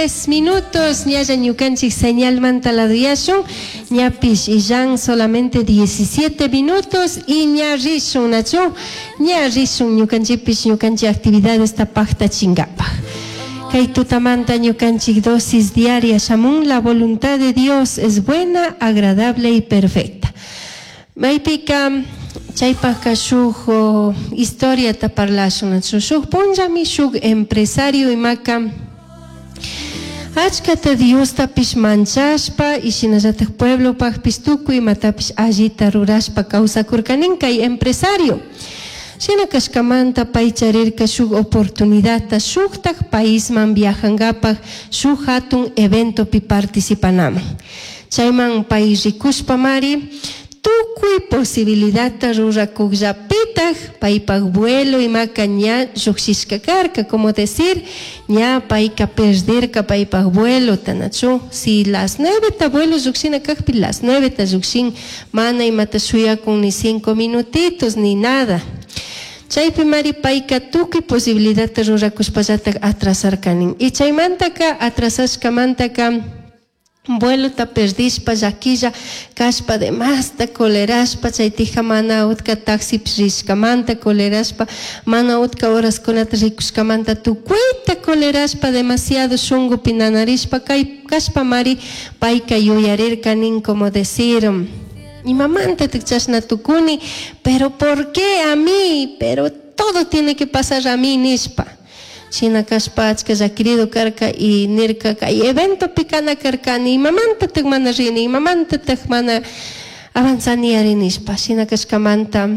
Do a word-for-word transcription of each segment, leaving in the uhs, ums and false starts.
Minutos ñalla ñukanchik señalmanta laduyashun, ñapish illan solamente diecisiete minutos y ña rishun, nachu, ña rishun ñukanchikpish ñukanchik actividades pajtachingapaj. Kay tutamanta ñukanchik dosis diaria shamun: la voluntad de Dios es buena, agradable y perfecta. Maypika chaypajka shuk historiata parlashun, nachu. Shuk punllami shuk empresario imaka achkata Diostapish manchashpa y shinallatak pueblopakpish tukuy imatapish allita rurashpa kawsakurkanin kay empresario. Shina kashkamanta pay charirka shuk oportunidadta shuktak paisman viajangapak, shuk hatun eventopi participanaman. Chayman pay rikushpamari tukuy posibilidadta rurakukllapitak paypak vuelo imaka ña llukshishka karka, como decir, ña payka perderka paypak vuelota, nachu. Si las nueve ta vuelo llukshina kakpi, las nueve ta llukshin, mana imata shuyakun ni cinco minutitos ni nada. Chaypi mari payka tukuy posibilidadta rurakushpallatak atrasarkanin. Y chaymantaka atrasashkamantaka vuelota perdishpa, llaquilla kashpa, demasta colerashpa, chaytija mana utka taxipish rishkamanta colerashpa, mana utka horaskunata rikushkamanta tukuyta colerashpa, demasiado shunkupi nanarishpa kay kashpa mari payka yuyarirka nin, como decir: "Imamantatak chashna tukuni? Pero ¿por qué a mí? Pero todo tiene que pasar a mí", nishpa. Shina kashpa achka llakirido karka y nirka: "Kay eventopi kana karkani, imamantatak mana rini? Imamantatak mana avanzani ari?" nishpa. Shina kashkamanta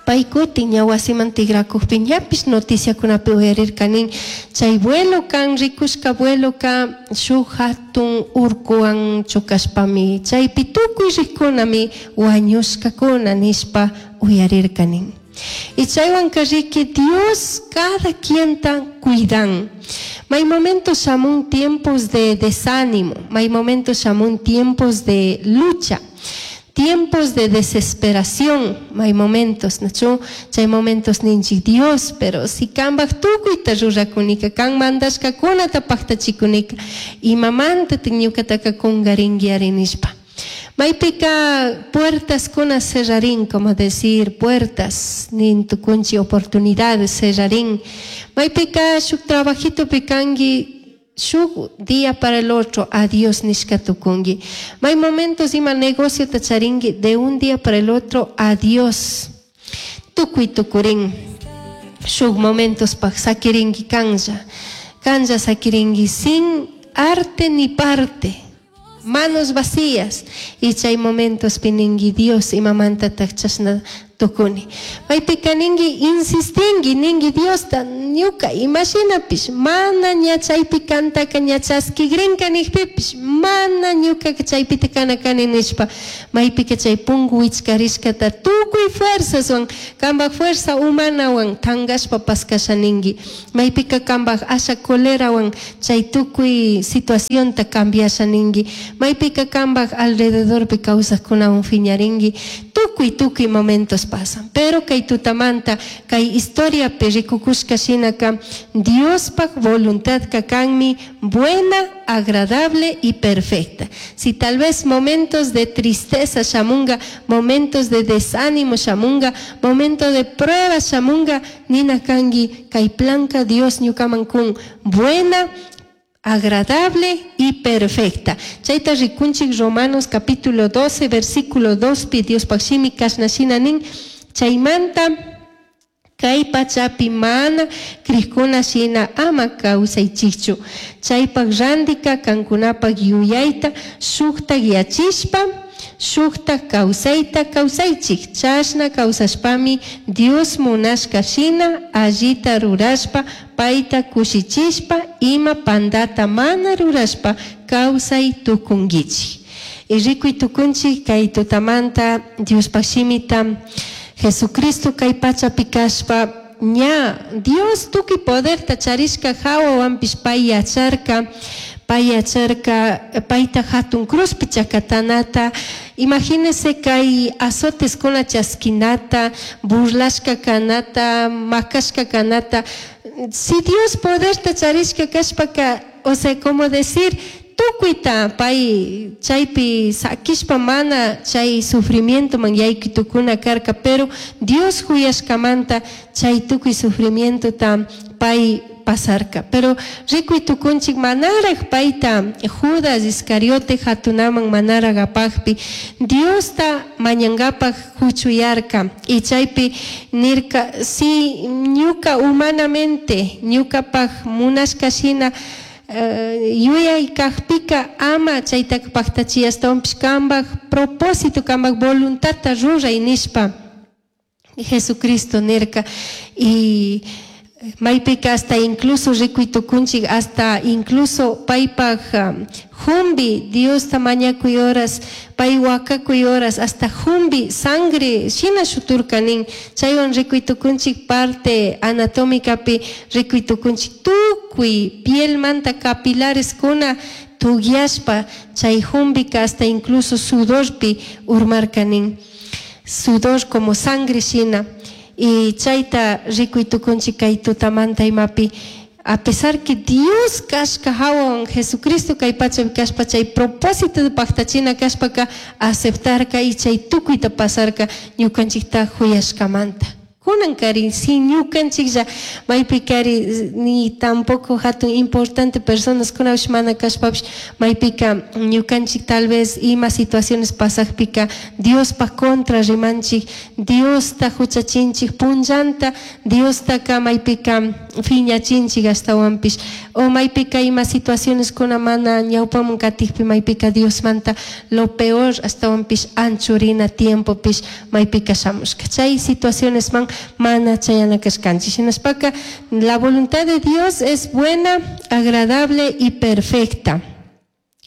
pay kutin ña wasiman tikrakukpi ñapish noticiakunapi uyarirkanin chay vuelo kan rikushka vueloka shuk hatun urkuwan chukashpami chaypi tukuy rikunami wañushkakuna nishpa uyarirkanin. Y chaywanka riki Dios cada quienta cuidan. May momentos shamun tiempos de desánimo, may momentos shamun tiempos de lucha, tiempos de desesperación, hay momentos, nachu, chay momentos ninchik: "Dios, pero si kambaj tukuyta rurakunika, kan mandashkakunata paktachikunika, imamantatik ñukataka kungarinki ari?" nishpa. Maypika puertas kuna cerrarín, como decir, puertas, nin tukunchi oportunidades cerrarín. Maypika shuk trabajito pikangi, shuk día para el otro, adiós nishka tukungi. May momentos ima negocio charingi, de un día para el otro, adiós. Tukuy tukurin. Shuk momentos pak sakiringi kanja. Kanja sakiringi sin arte ni parte. Manos vacías. Y chay momentos piningi: "Dios, imamantatak chashna tukuni?" Maypika ningi, insistingi, ningi Diosta: "Ñuka imashinapish mana ña chaypi kantaka ña chaskigrinka nikpipish, mana ñukaka chaypita kana kani" nishpa. Maypika chay pungu wichkarishkata tukuy fuerzaswan, kambak fuerza humanawan tankashpa paskasha ningi. Maypika kambak asha colerawan chay tukuy situacionta cambiasha ningi. Maypika kambak alrededorpi kawsakkunawan fiñaringi. Tukuy tukuy momentos pasan. Pero kay tutamanta kay historiapi rikukushka shinaka Diospak voluntad kanmi buena, agradable y perfecta. Si tal vez momentos de tristeza shamunga, momentos de desánimo shamunga, momento de prueba shamunga, nina kangi kay planka Dios ñukaman kun buena, agradable y perfecta. Chayta rikunchik Romanos capítulo doce, versículo dos pi Dios shimi kashna shina nin: "Chaymanta kay pachapi mana crijkuna shina ama kawsaychikchu. Chaypak randika kankunapak yuyayta shuktak yachishpa shuktak kawsayta kawsaychik. Chashna kawsashpami Dios munashka shina allita rurashpa, payta kushichishpa, ima pandata mana rurashpa kawsay tukunkichik". Y rikuy tukunchik kay tutamanta Diospak shimita. Jesucristo kay pachapi kashpa ña Dios tukuy poderta charishka hawawanpish pay yacharka pay yacharka payta hatun cruzpi chakatanata. Imagínese kay azoteskuna chaskinata, burlashka kanata, makashka kanata. Si Dios poderta charishka kashpaka O sea, como decir, tukuyta pay chaypi sakishpa mana chay sufrimientoman yaykuy tukuna karka, pero Dios huyashkamanta chay tukuy sufrimientota pay pasarka. Pero rikuy tukunchik manaraj payta Judas Iscariote hatunaman manaraj apajpi Diosta mañangapaj huchuyarka y chaypi nirka si ñuka humanamente ñukapaj munashka shina yuyay kajpika ama chaytaka paktachi ashtawanpish kambaj propósito kambaj voluntadta ruray nishpa Jesucristo nirka. Y maypika hasta incluso rikuy tukunchik hasta incluso paypaj jumbi Diosta mañakuy horas pay wakakuy horas hasta jumbi sangre shina shuturka nin chaywan rikuy tukunchik parte anatómicapi rikuy tukunchik tukuy pielmanta capilareskuna tugyashpa chay jumbika hasta incluso sudorpi urmarka nin sudor como sangre shina. Y chayta rikuy tukunchik kay tutamanta imapi a pesar que Dios kashka hawan Jesucristo kay pachapi kashpa chay propósito de paktachina kashpaka aceptarka y chay tukuyta pasarka ñukanchikta huyashkamanta. Kunan kari si ñukanchiklla maypi kari ni tampoco hatun importante personas kunapish mana kashpapish maypika ñukanchik tal vez ima situaciones pasakpika Diospaj contra rimanchik, Diosta huchachinchik punllanta, Diostaka maypika phiñachinchik ashtawanpish o maypika ima situaciones kuna mana ñawpaman katikpi maypika Diosmanta lo peor ashtawanpish anchurina tiempopish maypika shamushka chay situaciones man mana chayana kashkanchik. Shinashpaka la voluntad de Dios es buena, agradable y perfecta.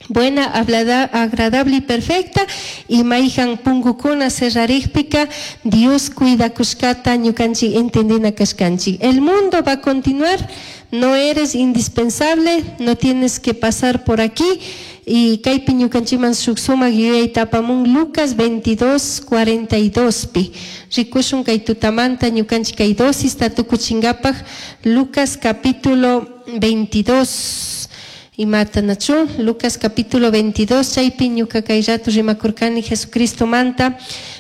Buena, agradable y perfecta. Y mayhan punkukuna cerrarikpika Dios cuida kushkata ñukanchik entendina kashkanchik. El mundo va a continuar, no eres indispensable, no tienes que pasar por aquí. Y kaypi ñukanchikman shuk sumak yuyayta apamun Lucas veintidós cuarenta y dos pi. Rikushun kay tutamanta ñukanchik kay dosista tukuchinkapaj Lucas capítulo veintidós. Imata nachu Lucas capítulo veintidós chaypi ñuka kay rato rimakurkani Jesucristo manta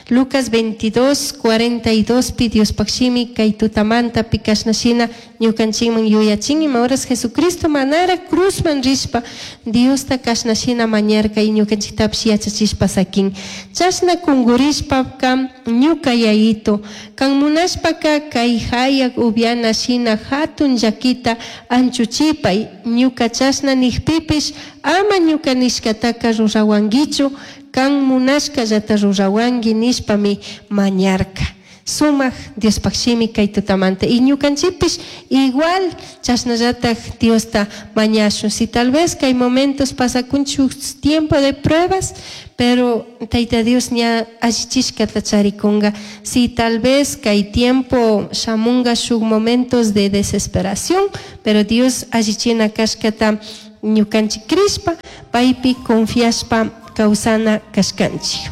Lucas veintidós cuarenta y dos pi Diospaj shimi kay tutamanta pi kashnashina ñukanchikman yuyachin ima horas Jesucristo manara cruzman rishpa Diosta kashnashina mañarka y ñukanchiktapish yachachishpa sakin chashna kungurishpa kam ñuka yayito kan munashpaka kay hayak upiana shina hatun llakita anchuchipay ñuka chashna nijpipish ama ñuka nishkataka rurawankichu kan munashkallata rurawanki nishpami mañarka. Sumak Diospaj shimi kay tutamanta y ñukanchikpish igual chashnallataj Diosta mañashun. Si tal vez kay momentos pasakunchik tiempo de pruebas, pero Tayta Dios ña allichishkata charikunga. Si tal vez kay tiempo shamunga shuk momentos de desesperación, pero Dios allichina kashkata ñukanchik crishpa, paypi confiashpa kawsana kashkanchik.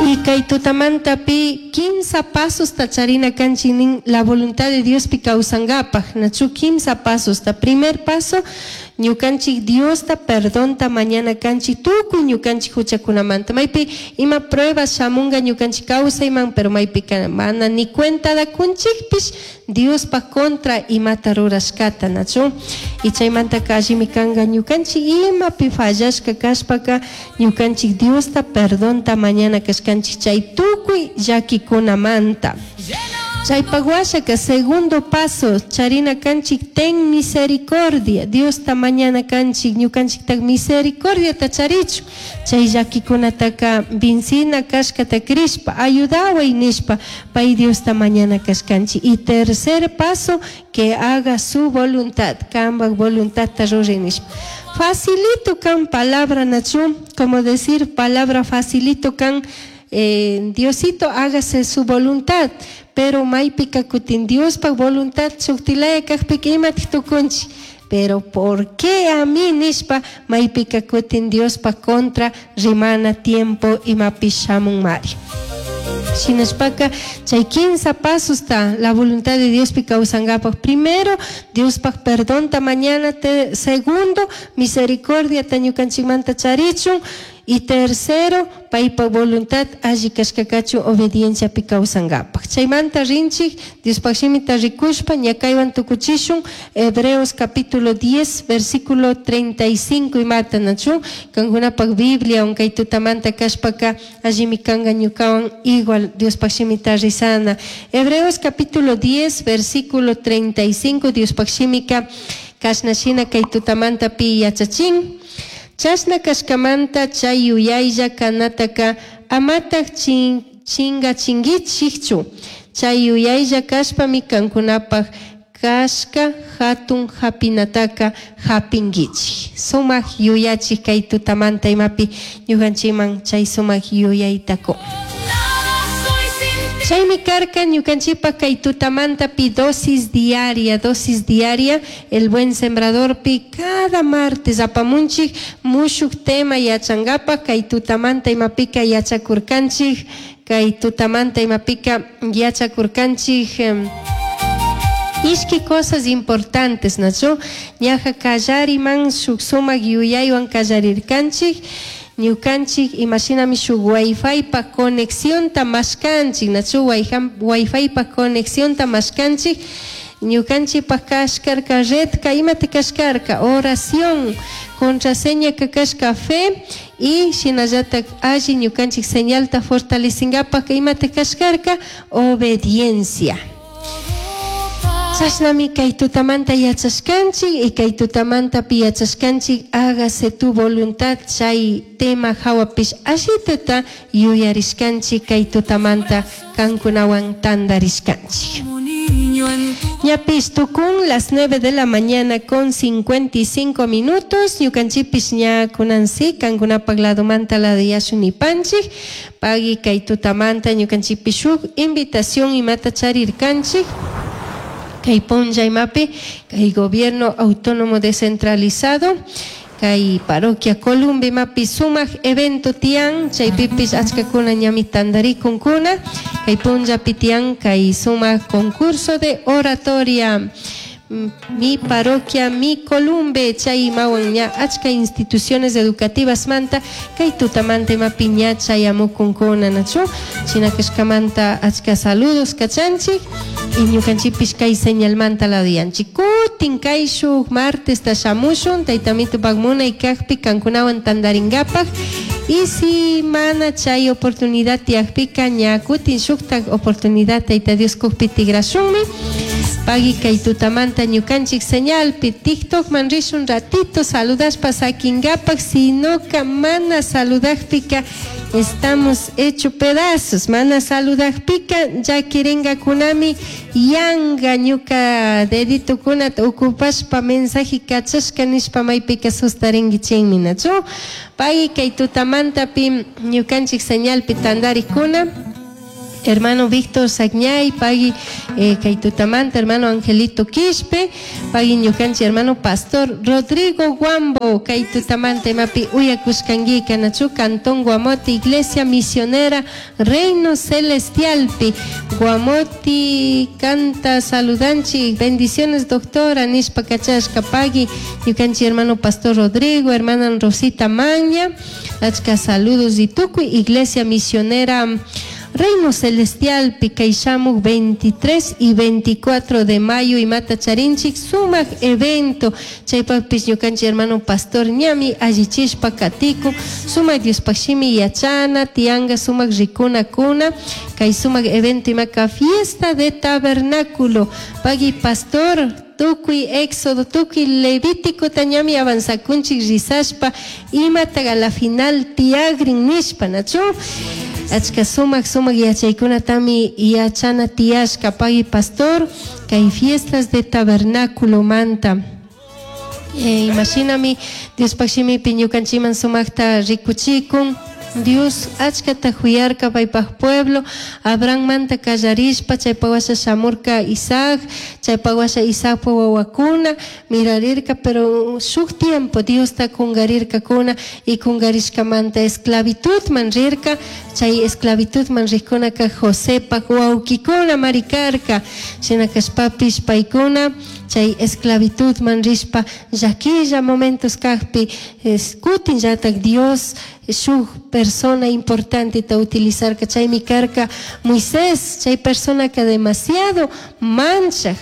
Y kay tutamanta pi quince pasos tacharina kanchik nin la voluntad de Dios pi kawsankapaj. Nachu quince pasos. Ta primer paso, ñukanchik Diosta perdonta mañana kanchik tukuy ñukanchik huchakunamanta. Maypi ima pruebas shamunga ñukanchik kawsayman, pero maypi mana ni cuenta da kunchikpish Diospa contra imata rurashkata nachu. Y chaymanta allimi kanga ñukanchik imapi fallashka kashpaka ñukanchik Diosta perdonta mañana kashkanchik chay tukuy llakikunamanta. Chaypaj washaka segundo paso charina kanchik ten misericordia. Diosta mañana kanchik ñukanchiktak misericordiata charichu chay llakikunataka vincina kashkata crishpa ayudaway nishpa pay Diosta mañana kashkanchik. Y tercer paso, que haga su voluntad, kambaj voluntadta ruray nishpa. Facilito kan palabra nachu, como decir palabra facilito kan eh, Diosito hágase su voluntad, pero maypika kutin Diospaj voluntad shuktilaya kajpika imatik tukunchik, pero ¿por qué a mí nishpa maypika kutin Diospaj contra rimana tiempo imapish shamun mari? Shinashpaka chay kinsa pasosta la voluntad de Diospi kawsankapaq. Primero, Diospaj perdonta mañana. Te, segundo, misericordiata ñukanchikmanta charichun. Y tercero, paypa voluntad alli kashkakachu obedienciapi kawsankapaq. Chaymanta rinchik, Diospaj shimita rikushpa, ñakaywan tukuchishun, Hebreos capítulo diez, versículo treinta y cinco imata nachu, kankunapak Biblia, kay tutamanta kashpaka, allimi kanka ñukawan igual Diospaj shimita rizana. Hebreos capítulo diez, versículo treinta y cinco, Diospaj shimika, kashna shina kay tutamanta pi yachachin. Chashna kashkamanta chay yuyaylla kanataka amataj chin, chingachinguichikchu. Chay yuyaylla kashpami kankunapaj kashka hatun hapinataka hapinguichik. Sumak yuyachik kay tutamanta imapi ñukanchikman chay sumak yuyayta kun. Nada soy sin ti. Chaymi karka ñukanchikpa kay tutamanta pi dosis diaria, dosis diaria, el buen sembrador pi cada martes apamunchik mushuk tema yachangapak. Kay tutamanta imapika yachakurkanchik, kay tutamanta imapika yachakurkanchik em, ishki cosas importantes, nachu? Ñaja kallariman shuk sumak yuyaywan kallarirkanchik, ñukanchik imashinami shuk wifi pa conexionta mashkanchik, nachu? Wifi pa conexionta mashkanchik. Ñukanchikpak kashkarka redka, imata kashkarka? Oración. Contraseña ka kashka fe. Y shinallatak alli ñukanchik señalta fortalecingapak, imata kashkarka? Obediencia. Chashnami kay tutamanta yachashkanchik y kay tutamantapi yachashkanchik hágase tu voluntad, chay tema hawapish ashitata yuyarishkanchik, kay tutamanta kankunawan tandarishkanchik. Como niño en tu Ñapish tukun las nueve de la mañana con cincuenta y cinco minutos. Ñukanchikpish ña kunansi kankunapak ladomanta ladiyashun nipanchik. Pagui kay tutamanta ñukanchikpish shuk invitación imata charirkanchik. Kay punlla imapi, kay gobierno autónomo descentralizado, kay parroquia Columbe imapi sumak evento tian, chaypipish achkakuna ñami tandarikunkuna, kay punllapi tian kay sumak concurso de oratoria. Mm, Mi parroquia, mi Columbe, chay imawan ña achka instituciones educativas manta, kay tutamanta imapi ña chayamukunkuna, nachu? Shina kashkamanta achka saludos kachanchik y ñukanchikpish kay señalmanta ladiyanchik. Kutin kay shuk martes ta shamushun, taytamitupak munay kakpi kankunawan tandaringapak. Y si mana chay oportunidad tiyakpika, ña kutin shuktak oportunidad Tayta Dios kukpi tigrashunmi. Pagui kay tutamanta ñukanchik señalpi TikTok man rishun ratito saludashpa sakingapak, sinoka mana saludakpika estamos hecho pedazos. Mana saludakpika llakiringakunami, yanga ñuka deditokunata ocupashpa mensaje kachashka nishpa maypika sustaringuichinmi, nachu? Pagui kay tutamantapi ñukanchik señalpi tandarikuna. Hermano Víctor Sagñay, pagui eh, kay tutamanta, hermano Angelito Quispe, pagui ñukanchik hermano Pastor Rodrigo Guambo, kay tutamanta imapi uyakushkanguika, nachu? Cantón Guamote, Iglesia Misionera Reino Celestialpi. Guamoti canta saludanchi, bendiciones doctora, nishpa kachashka, pagui ñukanchik hermano Pastor Rodrigo, hermana Rosita Maña, achka saludos y tukuy Iglesia Misionera Reino Celestial kay shamuk veintitrés y veinticuatro de mayo imata charinchik sumak evento, chaypakpish ñukanchik hermano pastor ñami allichishpa katiku sumak Diospaj shimi yachana tianga, sumak rikuna kuna kay sumak evento imaka fiesta de tabernáculo. Pagui pastor, tukuy Éxodo, tukuy Levítico tañami avanzakunchik rizashpa imataga a la final tiagrin nishpa, nachu? Achka sumak sumak yachaykunatami yachana tiyashka. Pagui pastor, kay fiestas de tabernáculo manta. Eh, imashinami Diospaj shimipi ñukanchikman sumakta rikuchikun. Dios achkata huyarka paypaj pueblo, Abrahammanta kallarishpa chaypa washa shamurka Isaac, chaypa washa Isaacpa wawakuna mirarirka, pero shuk tiempo Diosta kungarirkakuna y kungarishkamanta esclavitudman rirka, chay esclavitudman rikkunaka Josepak wawkikuna marikarka, shina kashpapish paykuna chay esclavitudman rishpa llakilla momentos kajpi kutinllatak Dios shuk persona importante ta utilizarka, chaymi karka Moisés, chay persona que demasiado manchaj,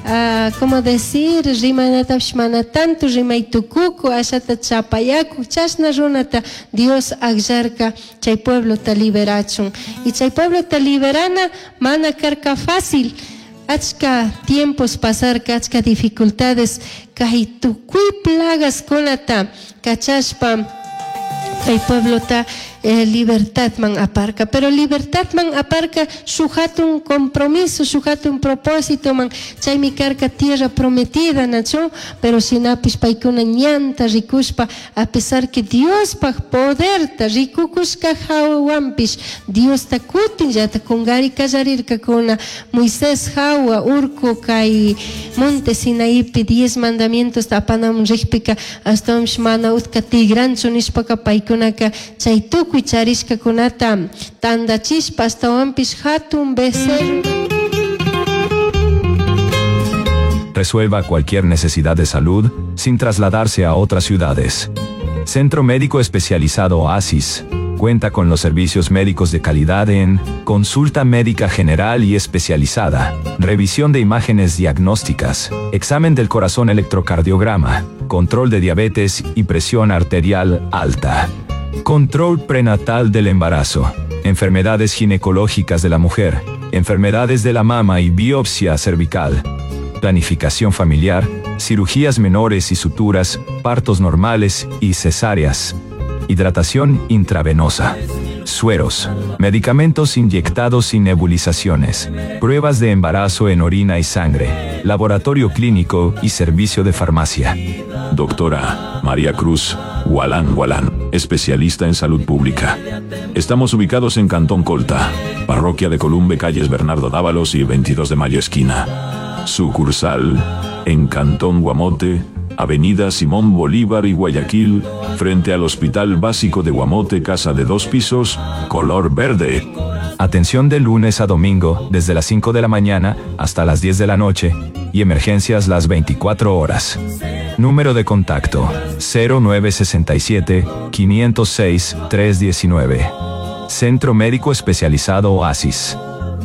uh, como decir, rimanatapish mana tanto rimay tukuku, ashata chapayaku, chashna runata Dios akllarka chay pueblota liberachun. Y chay pueblota liberana mana karka fácil. Achka tiempos pasarka, achka dificultades, kay tukuy plagas kunata kachashpa kay pueblota eh, libertad man aparca, pero libertad man aparca shuk hatun compromiso, shuk hatun propósito man, chaymi karka tierra prometida nachu, pero shinapish paykuna ñanta rikushpa, a pesar que Diospaj poderta rikukushka hawanpish, Diosta kutinllata kungari kallarirkakuna. Moisés hawa urku kay monte Sinaipi diez mandamientos apanamun rikpika ashtawanpish mana utka tigranchu nishpaka paykunaka chay tukuy charishkakunata tandachishpa ashtawanpish hatun becerro. Resuelva cualquier necesidad de salud sin trasladarse a otras ciudades. Centro Médico Especializado Oasis cuenta con los servicios médicos de calidad en consulta médica general y especializada, revisión de imágenes diagnósticas, examen del corazón electrocardiograma, control de diabetes y presión arterial alta, control prenatal del embarazo, enfermedades ginecológicas de la mujer, enfermedades de la mama y biopsia cervical, planificación familiar, cirugías menores y suturas, partos normales y cesáreas, hidratación intravenosa, sueros, medicamentos inyectados y nebulizaciones, pruebas de embarazo en orina y sangre, laboratorio clínico y servicio de farmacia. Doctora María Cruz Gualán Gualán, especialista en salud pública. Estamos ubicados en Cantón Colta, parroquia de Columbe, calles Bernardo Dávalos y veintidós de Mayo esquina. Sucursal en Cantón Guamote, Avenida Simón Bolívar y Guayaquil, frente al Hospital Básico de Guamote, casa de dos pisos, color verde. Atención de lunes a domingo, desde las cinco de la mañana hasta las diez de la noche, y emergencias las veinticuatro horas. Número de contacto, cero nueve sesenta y siete, quinientos seis, trescientos diecinueve. Centro Médico Especializado Oasis.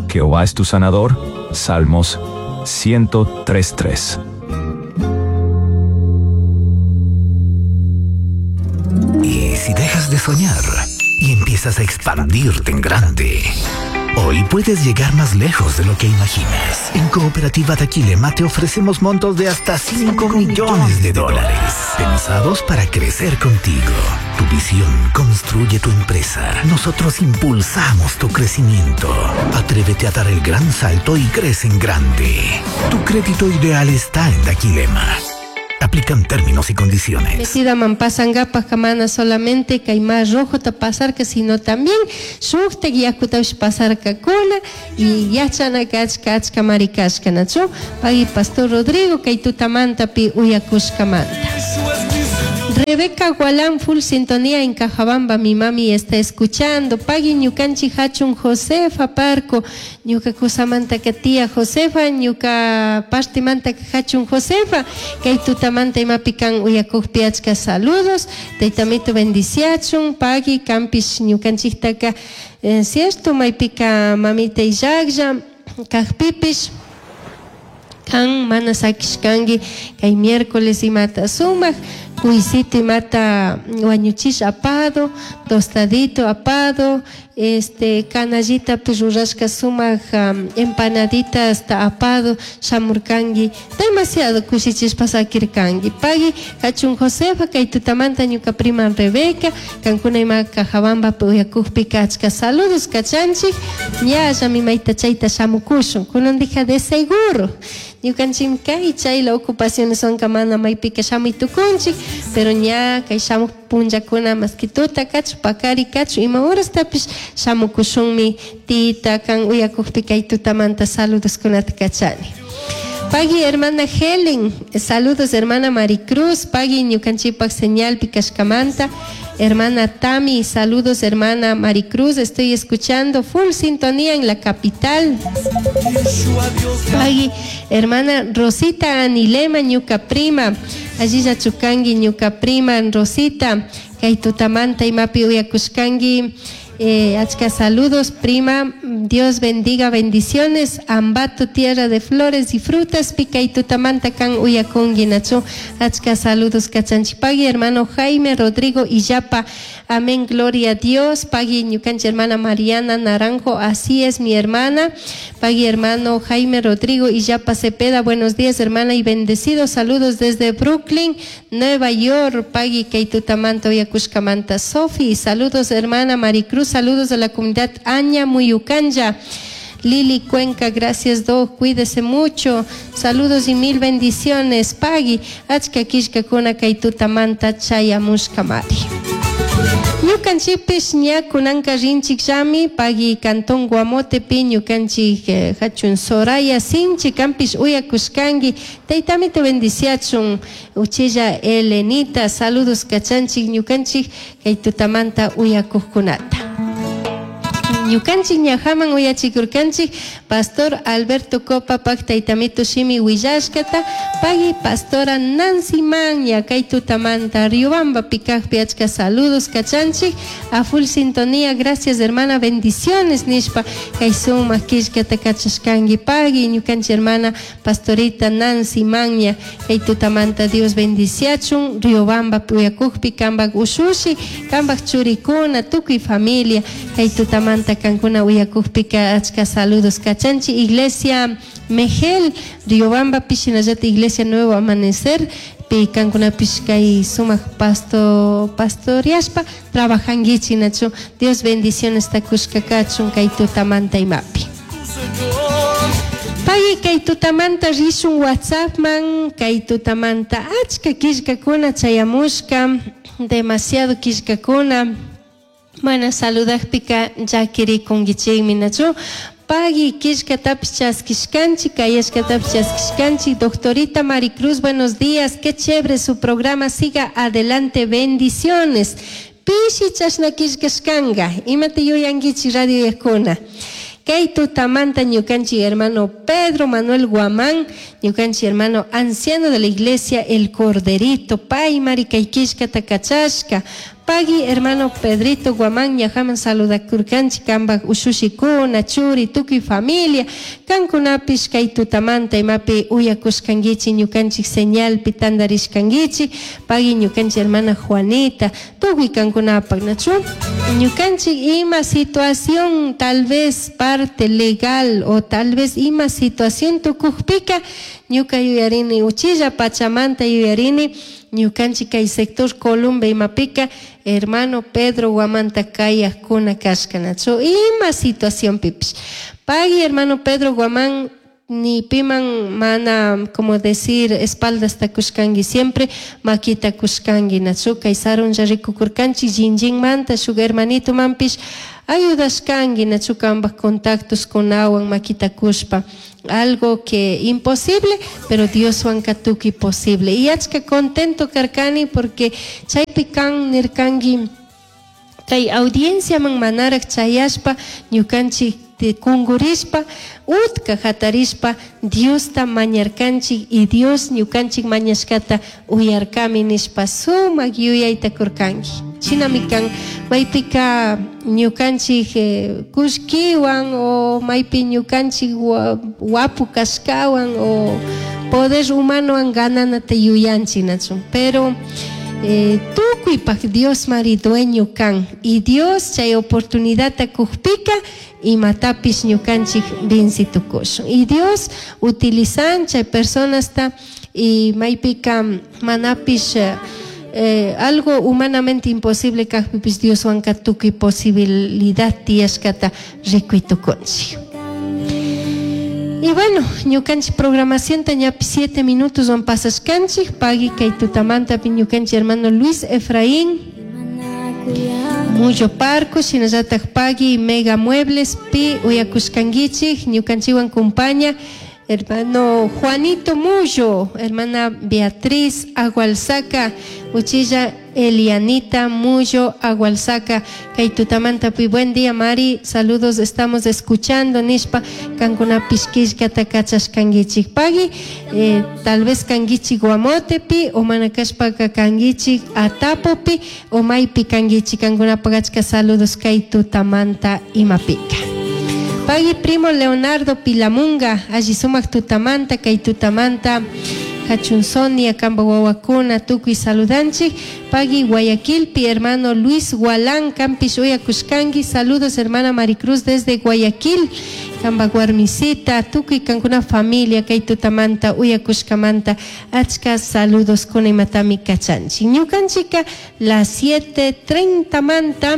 Jehová es tu sanador. Salmos ciento tres tres. Y si dejas de soñar y empiezas a expandirte en grande, hoy puedes llegar más lejos de lo que imaginas. En Cooperativa Daquilema te ofrecemos montos de hasta cinco millones de dólares, pensados para crecer contigo. Tu visión construye tu empresa. Nosotros impulsamos tu crecimiento. Atrévete a dar el gran salto y crece en grande. Tu crédito ideal está en Daquilema. Aplican términos y condiciones. Metida man pasangapaj mana solamente kay mar rojo ta pasarka, sino también shuktak yakutapish pasarkakuna y yachanaka achka achka marikashka nachu. Pagui Pastor Rodrigo kay tutamantapi uyakushkamanta. Rebeca Gualán, full sintonía en Cajabamba, mi mami está escuchando. Pagui ñukanchi hachun Josefa Parco, ñuka kusamanta ka tía Josefa, ñuka partimanta ka hachun Josefa, kay tutamanta imapi kan uyakukpi achka saludos, taytamito bendiciachun, pagui kampish ñukanchiktaka, eh, cierto, maypika mamita illaklla, kajpipish, kan mana sakishkanki kay miércoles imata sumak, cuisito imata wañuchish apado, tostadito apado, este canallita rurashka sumak um, empanadita hasta apado shamurkanki, demasiado kushichishpa sakirkanki. Pagui kachun Josefa kay tutamanta ñuka prima Rebeca, kankuna ima Cajabamba uyakukpika achka saludos kachanchik, ñalla mi mayta chayta shamukushun, kunandija de seguro. Ñukanchik kay chayla ocupaciones son mana maypika shamuy tukunchik, pero ña kay shamuq punllakuna maski tuta kachu pakari kachu ima horastapish shamukushunmi tita kan uyakukpi kay tutamanta saludoskunata kachani. Pagui hermana Helen, saludos hermana Maricruz, pagui ñukanchikpak señalpi kashkamanta. Hermana Tami, saludos hermana Maricruz, estoy escuchando full sintonía en la capital. Pagui, hermana Rosita Anilema, ñuka prima, allí ya chukangi ñuka prima Rosita, kay tutamanta imapi uyakushkangi. Eh, achka saludos, prima, Dios bendiga, bendiciones, Ambato, tierra de flores y frutas, pica y tutamanta kan uyakungi nachu, achka saludos, kachanchipagui, hermano Jaime Rodrigo Illapa, amén, gloria a Dios, pagui, ñukanchi hermana Mariana Naranjo, así es mi hermana, pagui, hermano Jaime Rodrigo Illapa Cepeda, buenos días, hermana, y bendecidos, saludos desde Brooklyn, Nueva York, pagui, kaitutamanta, uyakushkamanta, Sofi, saludos, hermana Maricruz, saludos de la comunidad Aña Muyucanya. Lili Cuenca, gracias Doc, cuídese mucho, saludos y mil bendiciones, pagui, achka kishka kuna kaitutamanta chayamushkamari. Ñukanchikpish ña kunanka rinchik llami, pagui cantón Guamotepi, ñukanchik eh, hachun Soraya Sinchi, kampish uyakushkanki, taytami te bendiciachun, uchilla Elenita, saludos kachanchik, ñukanchik kay tutamanta uyakuqkunata. Ñukanchik ñajaman uyachikurkanchik Pastor Alberto Copa pak taytamito shimi willashkata, pagui Pastora Nancy Maña kay tutamanta Riobamba pikakpi achka saludos kachanchik a full sintonía, gracias hermana, bendiciones nishpa kay sumak killkata kachashkanki pagui ñukanchik hermana Pastorita Nancy Maña kay tutamanta Dios bendiciachun Riobamba puyakukpi kambak ushushi kambak churikuna tukuy familia kay tutamanta kankuna uyakukpika achka saludos kachanchi Iglesia Mejel Riobamba pishinallata Iglesia Nuevo Amanecer pi kankunapish kay sumak pasto pastoriashpa trabajankichi nachu Dios bendiciones takushka kachun kay tutamanta imapi. Pagui kay tutamanta rishun WhatsAppman kay tutamanta achka killkakuna chayamushka demasiado killkakuna mana saludaqpika llakirikunkichikmi nachu. Pagui killkatapish chaskishkanchik kayashkatapish chaskishkanchik. Doctorita Maricruz, buenos días, qué chévere su programa, siga adelante, bendiciones. Pishi chashna killkashkanka, imata yuyankichik radio yakuna. Kay tutamanta ñukanchik hermano Pedro Manuel Guamán, ñukanchik hermano anciano de la iglesia El Corderito, pay mari kay killkata kachashka. Pagui hermano Pedrito Guamán, ñajaman saludakurkanchik kambak ushushikuna, churi, tukuy familia, kankunapish kay tutamanta imapi uyakushkankichik ñukanchik señalpi tandarishkankichik, pagui ñukanchik hermana Juanita, tukuy kankunapak nachu. Ñukanchik ima situación tal vez parte legal o tal vez ima situación tukukpika, ñuka yuyarini uchilla pachamanta yuyarini ñukanchik kay sector Columba imapika hermano Pedro Guamanta kayaqkuna kashkanachu ima situación pipish. Pagui hermano Pedro Guamán ni piman mana como decir espaldas takushkanki siempre makita kushkanki nachu kay sarunlla rikukurkanchik jinjinmanta shuk hermanito manpish ayudashkanki nachu kambak contactos kunawan makita kushpa. Algo que imposible, pero Dioswan tukuy posible. Y achka contento karkani porque chaypi kan nirkanki kay audiencia man manarak chayashpa ñukanchik kungurishpa utka hatarishpa Diosta mañarkanchik y Dios ñukanchik mañashkata uyarkami nishpa sumak yuyayta kurkanki. Shinami kan maypika ñukanchik eh, kushkiwan o maypi ñukanchik wapu kashkawan o poder humanowan gananata yuyanchik nachun, pero eh, tukuypak Dios mari dueño kan y Dios chay oportunidadta kukpika imatapish ñukanchik vincitukushun y Dios utilizan chay personasta y maypika manapish eh, algo humanamente imposible kajpipis Dioswanka tukuy posibilidad tiyashkata rikuytukunchik. Y bueno, ñukanchik programación ñapi siete minutos van pasashkanchik, pagui kay tutamantapi ñukanchik hermano Luis Efraín Muyo Parco, shinallatak pagui Mega Muebles pi uyakushkankichik, ñukanchikwan compaña hermano Juanito Muyo, hermana Beatriz Agualzaca, uchilla Elianita Muyo Agualzaca, kay tutamantapi buen día Mari, saludos, estamos escuchando nishpa kankunapish killkata kachashkankichik pagui, eh, tal vez kankichik Guamotepi o mana kashpaka kankichik Atapopi o maypi kankichik kankunapak achka saludos kay tutamanta imapika. Pagui primo Leonardo Pilamunga, alli sumak tutamanta, kay tutamanta, Hachun Sonia, kamba wawakuna, tukuy saludanchik. Pagui Guayaquilpi, hermano Luis Gualán, kampish uyakushkanki, saludos hermana Maricruz desde Guayaquil, kamba guarmisita, tukuy kankuna familia, kay tutamanta, uyakushkamanta, achka saludos kuna imatami kachanchik. Ñukanchika, las siete treinta manta,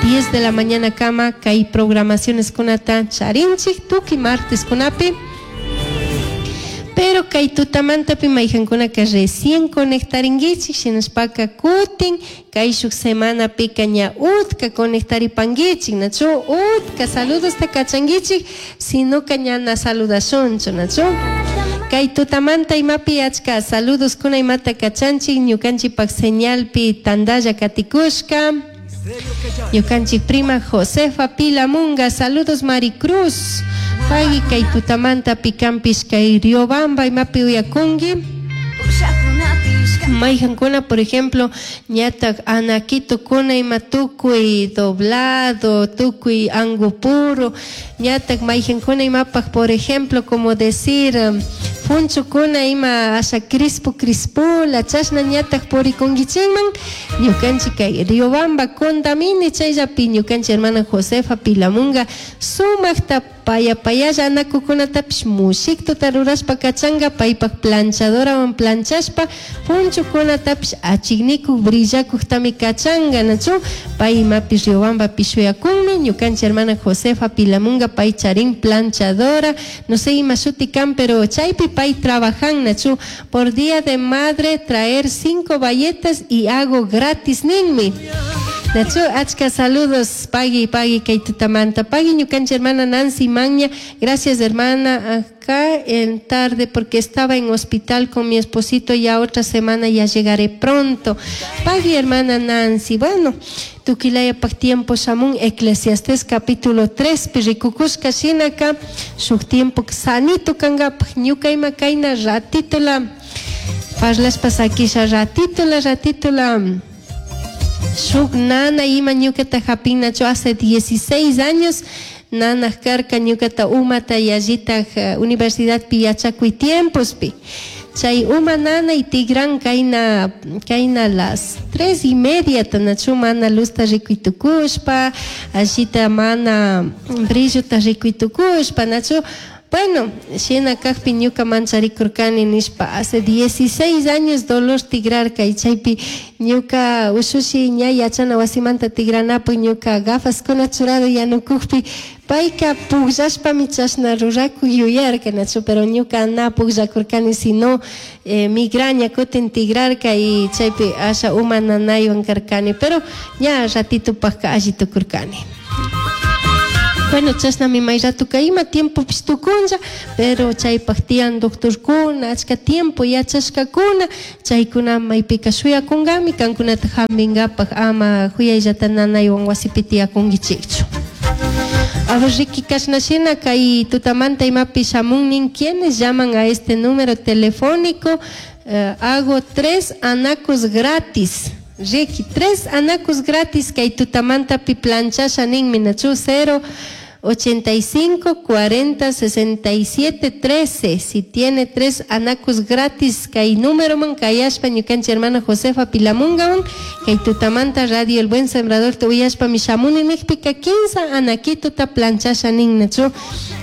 diez de la mañana kama, kay programaciones kunata charinchik, tukuy martes kunapi. Pero kay tutamantapi mayjankunaka recién conectaringuichik, shinashpaka kutin, kay shuk semanapika ña utka conectaripanguichik, nachu utka saludos ta kachanguichik, sino ka ña na saludashunchu, nachu. Kay tutamanta imapi achka saludos kuna imata kachanchik, ñukanchikpak señalpi tandalla katikushka. Ñukanchik prima Josefa Pilamunga, saludos Maricruz. Pagui kay tutamanta pikampish kay Riobamba imapi uyakunki. Mayjankuna, por ejemplo, ñatak anaquito kuna ima tukuy doblado, tukuy angupuro, ñatak mayjankuna imapaj, por ejemplo, como decir, funchukuna ima asha crispu crispula, chashna ñatak purikunkichikman, ñukanchik kay Riobamba Condamini chayllapi ñukanchik hermana Josefa Pilamunga sumakta paya payalla anakukunatapish mushiktuta rurashpa kachanga paypak planchadorawan planchashpa funchukunatapish achiknikuk brillakuktami kachanga, nachu pay imapi Riobamba pishuyakunmi ñukanchik hermana Josefa Pilamunga pay charin planchadora, no sé ima shuti kan, pero chaypi pay trabajan, nachu por día de madre traer cinco bayetas y hago gratis ninmi. Nachu, achka saludos, pagui, pagui, kay tutamanta. Pagui, ñukanchik hermana Nancy Magna, gracias hermana, acá en tarde porque estaba en hospital con mi esposito, ya otra semana ya llegaré pronto. Pagui, hermana Nancy, bueno, tukilaya pak tiempo shamun, Eclesiastés capítulo tres, pirrikukushka shinaka, shuk tiempo sanito kangapaj, ñuka ima kayna ratito la, parlashpa sakisha ratito la, ratito la, shuk nana ima ñukata hapinachu hace dieciséis años, nana karka ñukata umata yallitaj universidad pi yachakuy tiempospi. Chay uma nana y tigran kayna, kayna las tres y media tanachu mana luzta rikuytukushpa, allita mana brillota rikuytukushpa, nachu. Bueno, shina kajpi ñuka mancharikurkani nishpa hace dieciséis años dolor tigrarka y chaypi ñuka ushushi ña yachana wasimanta tigranapu ñuka gafaskuna churado yanukukpi payka pukllashpami chashna rurakuy yuyarka, nachu, pero ñuka na pukllakurkani sino eh, migraña kutin tigrarka y chaypi asha uma nanaywan karkani, pero ña ratitupajka alli tukurkani. Bueno, chashnami may ratuka ima tiempopish tukunlla, pero chaypak tiyan doctorkuna, achka tiempo yachashkakuna, chaykuna maypika shuyakunkami, kankunata hampinkapak ama huyayllata nanaywan wasipi tiyakunkichikchu. A ver, Ricky kashna kay tutamanta imapi shamunnin, ¿quiénes llaman a este número telefónico? Eh, hago tres anacos gratis. Ricky, tres anacos gratis kay tutamanta pi planchasha ninmi, nachu, cero ochenta y cinco, cuarenta, sesenta y siete, trece. Si tiene tres anacos gratis, kay número man, kayashpa ñukanchik hermana Josefa Pilamungawan, kay tutamanta Radio El Buen Sembrador te uyashpa mishamuni nikpika quince anaquito ta planchasha nin, nachu.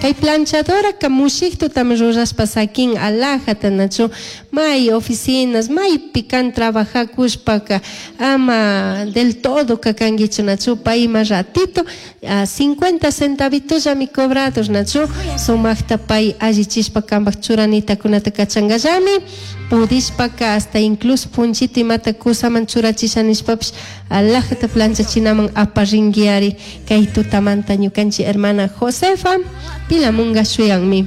Kay planchadora ka mushiktutam rurashpa sakin alajata nachu may oficinas maypi kan trabajakushpaka ama del todo kakankichu nachu payma ratito a cincuenta centavitollami cobrados nachu sumaqta pay allichishpa kanpak churanitakunata kachankallami pudishpaka hasta incluso punchito imata kusaman churachisha nishpapish alajata planchachinaman aparringuiari kay tutamanta ñukanchik hermana Josefa Pilamunga shuyanmi.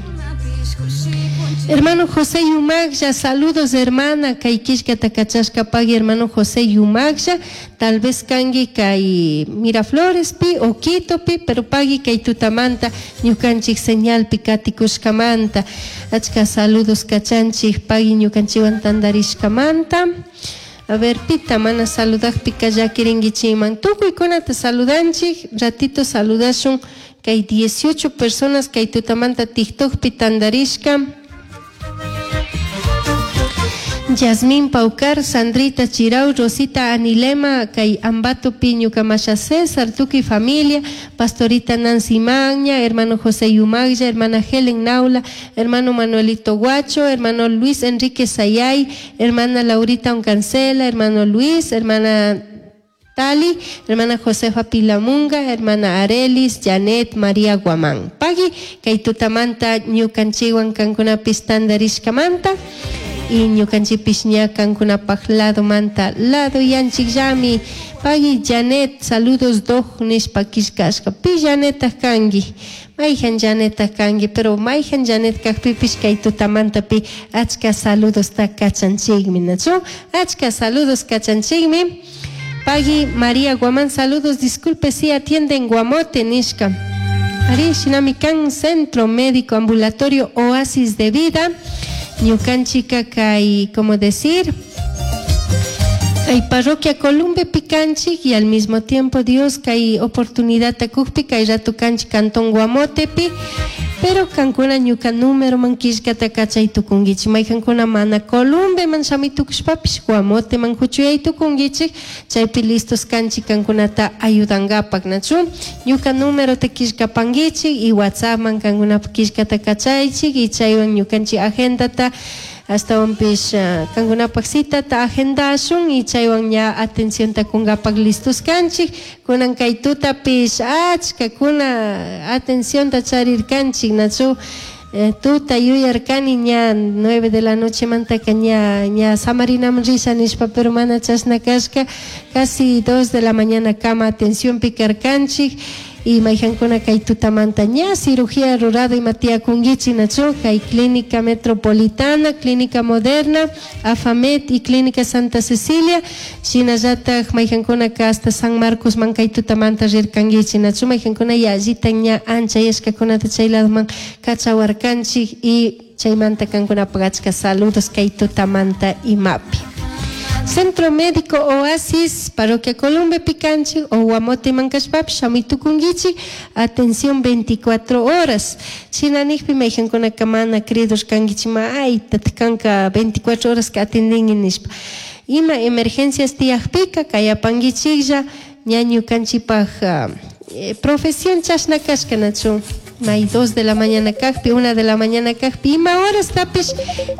Hermano José Yumaglla, saludos hermana, kay killkata kachashka pagui hermano José Yumaglla, tal vez kangi kay Miraflores pi o Quito pi, pero pagui kay tutamanta ñukanchik señalpi katikushkamanta, achka saludos kachanchik pagui ñukanchiwan tandarishkamanta. A ver, pita mana saludajpika llakirinkichikman, tukuykunata saludanchik, ratito saludashun kay dieciocho personas kay tutamanta TikTokpi tandarishka. Yasmín Paucar, Sandrita Chirau, Rosita Anilema, kay Ambato Piñu Camasha César, tukuy familia, Pastorita Nancy Magña, hermano José Yumaglla, hermana Helen Naula, hermano Manuelito Guacho, hermano Luis Enrique Sayay, hermana Laurita Oncancela, hermano Luis, hermana Tali, hermana Josefa Pilamunga, hermana Arelis, Janet, María Guamán. Pagui, kay tutamanta ñukanchiwan kankunapis tandarishkamanta. Y ñukanchipis ña kankunapaj lado manta lado yanchikllami. Pagui Janet, saludos doj nishpa killkashka. Pi Janetaj kanki, mayjan Janetaj kanki, pero mayjan Janet kajpipish kay tutamanta pi achka saludosta kachanchikmi, nachu? Achka saludos kachanchikmi. Pagui María Guamán, saludos, disculpe si atienden Guamote nishka. Ari shinami kan Centro Médico Ambulatorio Oasis de Vida. Ñukanchika kay, como decir, kay parroquia Columbe pikanchik y al mismo tiempo Dios kay oportunidad takukpi kay rato kanchik cantón Guamotepi, pero kankuna ñuka número man killkata kachay tukunkichik, maykankuna mana Columbe man shami tukushpapish Guamote man huchuyay tukunkichik, chaypi listos kanchik kankunata ayudankapak nachu, ñuka número te killkapankichik y WhatsApp man kankunapa killkata kachaychik y chaywan ñukanchik agendata astawanpish kankunapak citata agendashun y chaywan ña atencionta kunkapak listos kanchik, kunan kay tutapish achka kuna atencionta charirkanchik nachu, eh, tuta yuyarkani ña nueve de la noche mantaka ña ña samarinaman risha nishpa, pero mana chashna kashka casi dos de la mañana kama atención pikarkanchik y mayjankuna kay tutamanta ña cirugía rurada ima tiyakunkichik nachu, kay Clínica Metropolitana, Clínica Moderna, Afamed y Clínica Santa Cecilia, shinallataj mayjankuna ka hasta San Marcos man kay tutamanta rirkankichik nachu, mayjankuna yallita ña anchayashkakunata chay ladoman kachawarkanchik y chaymanta kankunapak achka saludos kay tutamanta imapi. Centro Médico Oasis, Parroquia Columbe Picanchi o Guamote Mancashpapi, shamuy tukunkichik, atención veinticuatro horas. Shinanikpi mayjankunaka mana credos kankichik, ma ay tatkanka veinticuatro horas que atendinki nishpa. Ima emergencias tiyakpika kayapankichiklla, ña ñukanchikpaj eh, profesión chashna kashka nachu. May dos de la mañana kajpi, una de la mañana kajpi, ima horas tapish,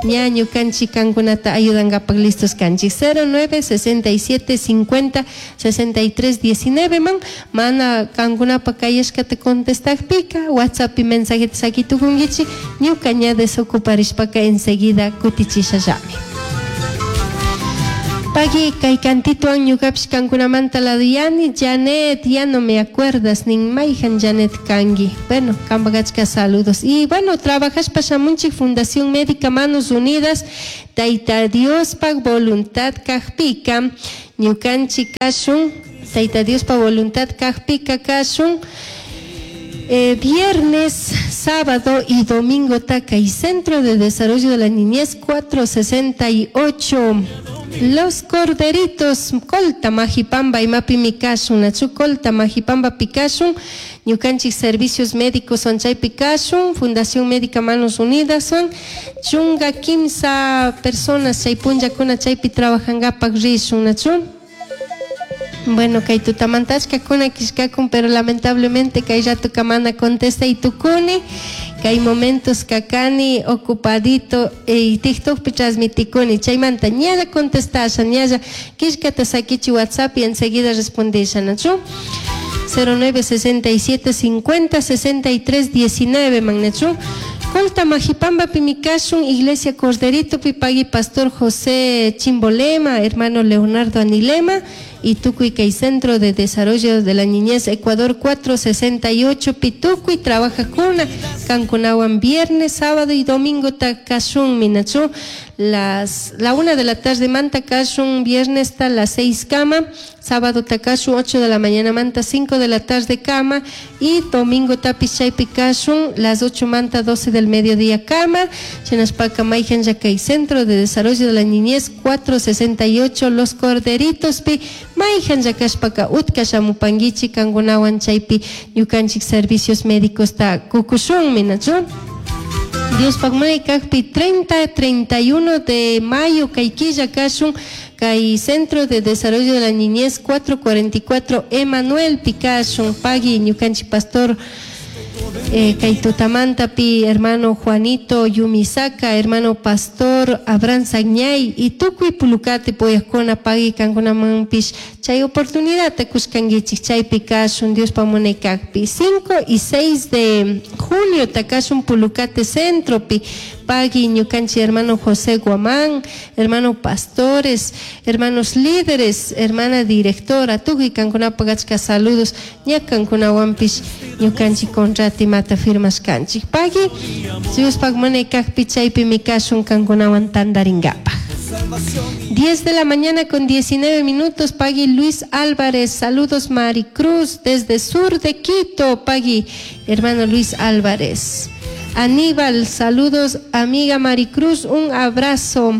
ña ñukanchik kankunata ayudankapak listos kanchik. cero nueve sesenta y siete cincuenta sesenta y tres diecinueve man, mana kankunapa kayashkata contestakpika, WhatsApp y mensajeta sakitukunkichik, ñuka ña desocuparishpaka enseguida kutichishallami. Pagui kay kantituan ñukapish kankunamanta laduyani, Janet, ya no me acuerdas, nin mayjan Janet kanki. Bueno, kanpak achka saludos. Y bueno, trabajashpa shamunchik Fundación Médica Manos Unidas, Tayta Diospak voluntad kajpika, ñukanchik kashun, Tayta Diospak voluntad kajpika kashun. Eh, viernes, sábado y domingo Taca y Centro de Desarrollo de la Niñez cuatro sesenta y ocho. Los Corderitos, Colta, Majipamba y Mapi Mikashun, Nachu Colta, Majipamba Pikashun, Ñukanchik Servicios Médicos son Chay Pikashun, Fundación Médica Manos Unidas son, Chunga quimsa personas, Chay Punja Kuna Chaypi trabajan Gapak Rishun, Nachu. Bueno, kay tutamanta achkakuna killkakun, pero lamentablemente kay ratoka mana contestay tukuni. Kay momentos kakani ocupadito y TikTokpi transmitikuni. Chaymanta ñalla contestasha, ñalla killkata sakichi WhatsApp y enseguida respondisha, ¿nachu? cero nueve sesenta y siete cincuenta sesenta y tres diecinueve, magnachu. Colta Majipamba Pimicashun, Iglesia Corderito, Pipagui Pastor José Chimbolema, hermano Leonardo Anilema, y Tucuy Kay Centro de Desarrollo de la Niñez Ecuador cuatro sesenta y ocho, Pitucuy, trabaja cuna, Cancunahuan viernes, sábado y domingo Takashun, Minachu, las, la una de la tarde Manta Kashun, viernes hasta las seis cama, sábado Takashun ocho de la mañana Manta cinco de la tarde cama, y domingo Tapichaypi Kashun, las ocho Manta doce del mediodía cama, Chenaspaca Maijan Yacay Centro de Desarrollo de la Niñez cuatro sesenta y ocho, Los Corderitos Pi, Maijan Yakashpaka Utka Shamupanguichi, Kangunawan Chaypi, Yukanchik Servicios Médicos ta Kukushun, Minachu. Dios pagmay kajpi treinta, treinta y uno de mayo, Kaikilla Kashun, Kay Centro de Desarrollo de la Niñez cuatro cuarenta y cuatro, Emanuel Pikashun, Pagui, Ñukanchi Pastor, eh, Kaitutamanta pi, hermano Juanito Yumisaka, hermano Pastor Abraham Sagñay, y tukuy pulukate poyakuna pagui kankuna manpish, chay oportunidad te kuskanguichik, chay pikashun, Dios pamune kakpi. cinco y seis de julio takashun pulukate centro pi, pagui ñukanchi hermano José Guamán, hermano pastores, hermanos líderes, hermana directora, tukuy kankuna pagachka saludos, ña kankuna wampish, ñukanchi contrati mata firmas kanchik. Pagui, Dios pagmane kakpi chaypi mikashun kankunawan tandaringapaj. diez de la mañana con diecinueve minutos, Pagui Luis Álvarez, saludos Maricruz desde sur de Quito, Pagui, hermano Luis Álvarez. Aníbal, saludos amiga Maricruz, un abrazo.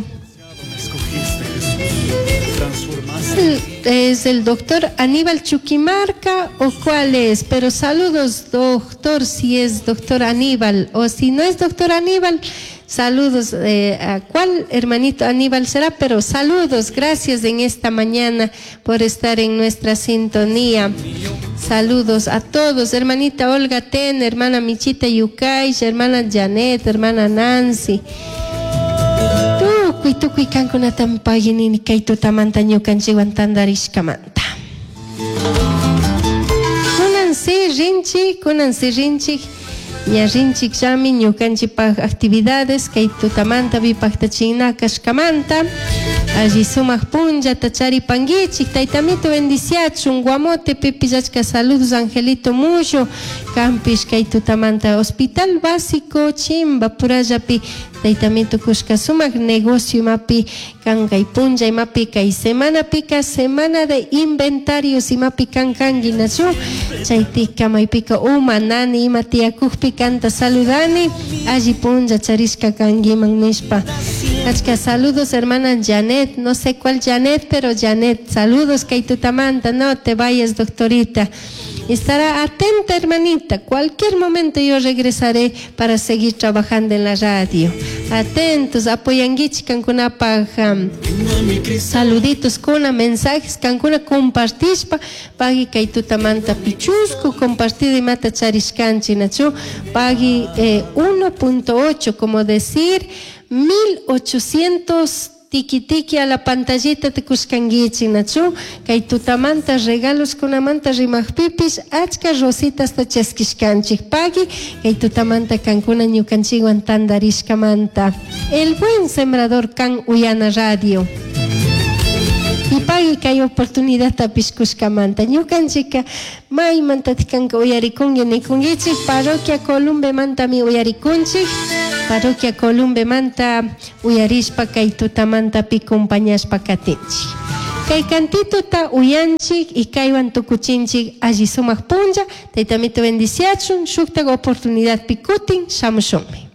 ¿Es el doctor Aníbal Chuquimarca o cuál es? Pero saludos, doctor, si es doctor Aníbal o si no es doctor Aníbal, saludos, eh, a cuál hermanito Aníbal será, pero saludos, gracias en esta mañana por estar en nuestra sintonía. Saludos a todos, hermanita Olga Ten, hermana Michita Yucay, hermana Janet, hermana Nancy. Tukuy, tukuy kankunatan paginini kay tutamanta ñukanchikwan tantarishkamanta. Kunan si rinchik, kunan si rinchik, ña rinchik llami ñukanchikpaj actividades kay tutamanta vipajtachina kashkamanta. Allí sumaq punlla tacharipanguichik, taytamito bendiciachun, guamote pipillachka saludos Angelito Mullo, Campish kay tutamanta Hospital Básico Chimba Purallapi, taytamito kushka sumaq negocio imapi kan kay punlla imapi kay semana pika semana de inventarios imapi kan kangi nachu, chaytika maypika uma nani ima tiyakujpi kanta saludani, allí punlla charishka kangiman nishpa. Achka saludos hermana Janet, no sé cuál Janet, pero Janet, saludos Kaitutamanta, no te vayas doctorita. Estará atenta hermanita, cualquier momento yo regresaré para seguir trabajando en la radio. Atentos, apoyanguichi kankunapaj, um, saluditos kuna, mensajes kankuna compartishpa, pagui Kaitutamanta pichusco, compartido y mata charishkanchi nachu, pagui, eh, uno punto ocho, como decir mil ochocientos tiki tiki a la pantallita te kuskanguichi nachu, kay tutamanta regalos kunamanta rimajpipis, achka rositas ta chaskishkanchik pagui, kay tutamanta kankuna ñukanchikwan tandarishkamanta. El buen sembrador kan Uyana Radio. Y pagui kay oportunidad tapishkushkamanta. Ñukanchika maymanta tikanka uyarikunki nikunkichik, parroquia Columbe mantami uyarikunchik. Parroquia Columbe manta uyarishpa kay tutamanta pi compañashpa katinchik. Kay cantito ta uyanchik y kaywan tukuchinchik alli sumaq punlla, taytamito bendiciachun, shuktak oportunidad pikutin, shamushunmi.